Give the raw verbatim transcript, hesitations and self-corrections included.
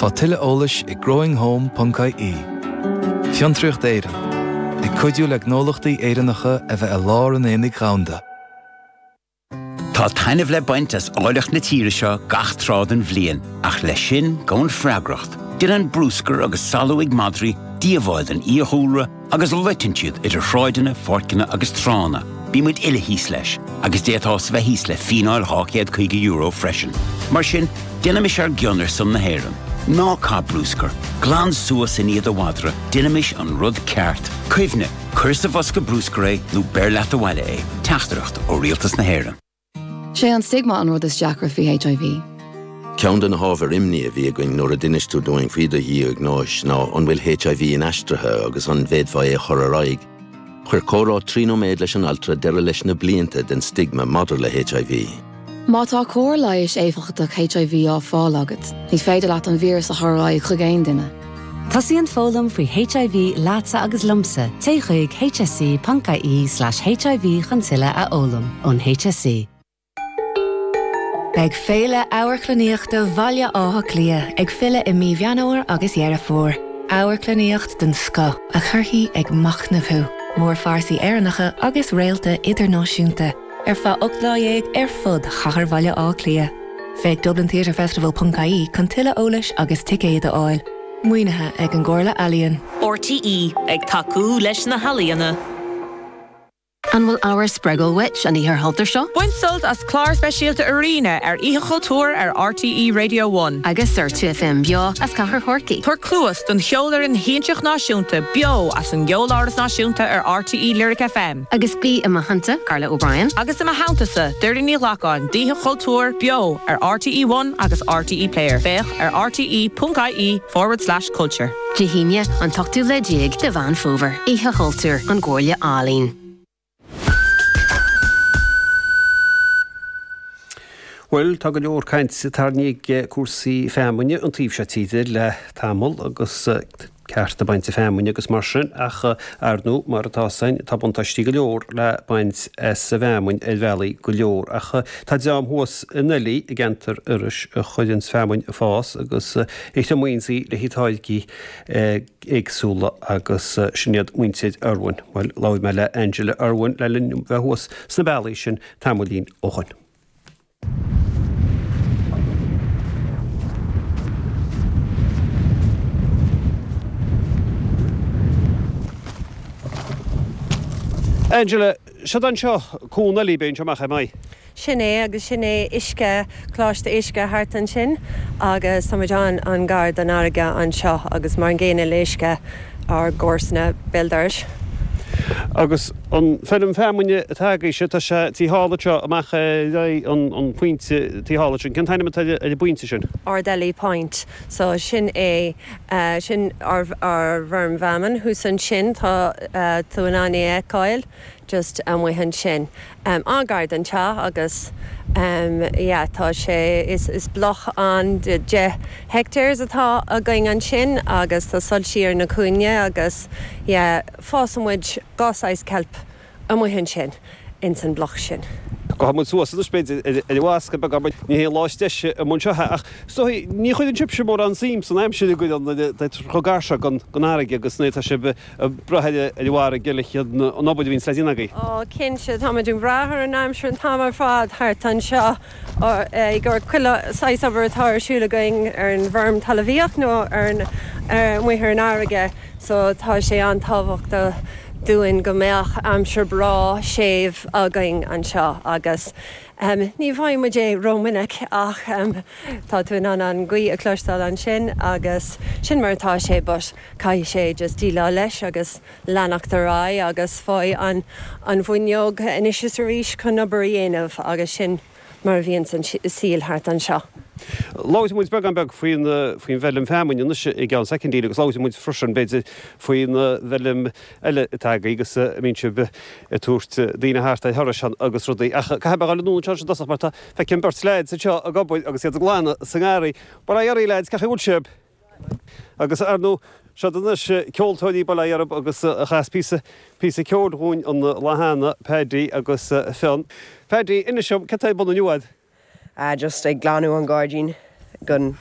Faigh tuilleadh eolais ag growinghome.ie. Fiontraíocht Éireann, ag cuidiú le gnólachtaí Éireannacha a bheith i lár an aonaigh dhomhanda. Tá taitneamh le baint as áilleacht na tíre seo gach tráth den bhliain, ach leis sin gabhann freagracht. Déanann bruscar agus salú ag madraí díobháil don fhiadhúlra agus loiteann siad idir shráideanna, pháirceanna agus tránna. Bíonn muid uile thíos leis, agus d'fhéadfá bheith thíos le fíneáil dhá chéad caoga euro freisin. Mar sin, déanaimis ár gcion ar son na hÉireann. Ná caith bruscar, glan suas i ndiaidh do mhadra, déanaimis an rud ceart. Cuimhnigh, cuir sa bhosca bruscair é nó beir leat abhaile é, Teachtaireacht ó Rialtas na hÉireann. Sé an stigma an rud is deacra faoi HIV. Ceann de na hábhair imní a bhí againn nuair a d'inis tú dúinn faoi do dhiagnóis ná an bhfuil HIV inaistrithe agus an bhféadfá é a chur ar aghaidh. Chuir comhrá trí nóiméad leis an altra deireadh leis na blianta den stigma maidir le HIV. Má tá cóir leighis éifeachtach HIV á fáil agat, ní féidir leat an víreas a chur ar aghaidh chuig aon duine. Tosaíonn foghlaim faoi HIV leatsa agus liomsa, téigh chuig hse.ie slash HIV chun tuilleadh a fhoghlaim ón HSE. Beidh Féile Amharclannaíochta Bhaile Átha Cliath ag filleadh i mí Mheán Fómhair agus Dheireadh Fómhair. Amharclannaíocht den scoth a chuirfidh ag machnamh thú, mórphearsaí Éireannacha agus réalta idirnáisiúnta ar feadh ocht lá dhéag ar fud chathair Bhaile Átha Cliath. Féach Dublin Theatre Festival.ie chun tuilleadh eolais agus ticéid a fháil. Maoinithe ag an gComhairle Ealaíon. RTÉ ag tacú leis na healaíona. An bhfuil ábhar spreagúil uait an oíche chultúir seo? Bain sult as clár speisialta Arena ar Oíche Chultúir ar RTÉ Radio One. Agus ar FM beo as Cathair Chorcaí. Tabhair cluas don cheolfhoireann shiansach náisiúnta beo as an gCeoláras Náisiúnta ar RTÉ Lyric FM. Agus bí i mo theannta Carla O'Brien. Agus i mo theannta-sa Doireann Ní Ghlacáin d'Oíche Chultúir beo ar RTÉ One agus RTÉ Player. Féach ar RTÉ.ie forward slash culture. Dé hAoine an t-ochtú lá déag de Mheán Fómhair. Oíche Chultúir an Chomhairle Ealaíon. Bhuel tá go leor cainte tarraingthe ag cúrsaí feamainne an taobh seo tíre le tamall agus cearta bainte feamainne agus mar sin ach ar ndóigh mar atá sin tá buntáistí go leor le baint as an bhfeamainn ar bhealaí go leor ach tá dream thuas in Oilí i gceantar Iorrais a chuireann feamainn ag fás agus a thriomaíonn í le táirgí éagsúla agus sin iad muintir Irwin. Bhuel labhair mé le Angela Irwin le linn bheith thuas sna bealaí sin tamaillín ó shin. Angela, seo anseo Cuan Oilí b'fhéidir amach ar maith. Sin é agus sin é uisce Coláiste Uisce thart ansin agus táimid an an-ghar don fharraige anseo agus mar an gcéanna le uisce ár gcomharsana béal dorais. Agus an feirm feamainne atá agaibhse tá sé taobh thall anseo amach ar aghaidh an an phointe taobh thall ansin. Cén t-ainm atá ar an bpointe sin? Ard Eilí Point. So sin é sin ár ár bhfeirm feamainn thuas ansin tá tú in ann é a fheiceáil just amuigh ansin. An-ghar don teach agus yeah tá sé is is bloc an de deich hectares atá againn ansin agus tá soilsí ar na cúinní agus yeah fásann muid dhá saghas kelp amuigh ansin ins an bloc sin. Gabhfaidh muid suas anois b'fhéidir ar an bhasca beag mar ní hé lá is deise amuigh anseo ach is dóigh ní chuireann sibhse mórán suim san aimsir a gcuireann chomh gar seo don fharraige agus nuair atá sibh ag brath ar an bhfarraige le an obair a bhíonns le déanamh agaibh. Ó cinnte, táimid ag brath ar an aimsir an t-am ar fad thart anseo i gcomhair chuile saghas obair atá ar siúl againn ar an bhfeirm talmhaíocht nó ar an amuigh ar an fharraige so tá sé an-tábhachtach dúinn go mbeadh aimsir breá séimh againn anseo agus ní bhfaighidh muid é rómhinic ach tá tú in ann an ghaoth a chloisteáil ansin agus sin mar atá sé but caithfidh sé just déileáil leis agus leanacht ar aghaidh agus faigh an an bhfuinneog anois is arís chun obair a dhéanamh agus sin mar a bhíonn an saol thart anseo. Labhróidh muid beagán beag faoin faoin bhfeirm feamainne anois i gceann soicindín agus labhróidh muid freisin b'fhéidir faoin bhfeirm eile atá agaibh agus a mbíonn sibh ag tabhairt daoine thart ar thurais ann agus rudaí. Ach caithfidh mé a dhul anonn anseo i dtosach mar tá feicim beirt leaids anseo ag obair agus iad ag glanadh sa ngarraí. Bail ó Dhia oraibh leaids, cén chaoi a bhfuil sibh? Agus ar ndóigh, siod anois ceoltóirí bail ó Dhia orthu agus a chas píosa píosa ceoil dhúinn an lá cheana, Paddy agus Fionn. Paddy, inis dom, cad tá ar bun inniu a'd? Just ag glanadh an gairdín gon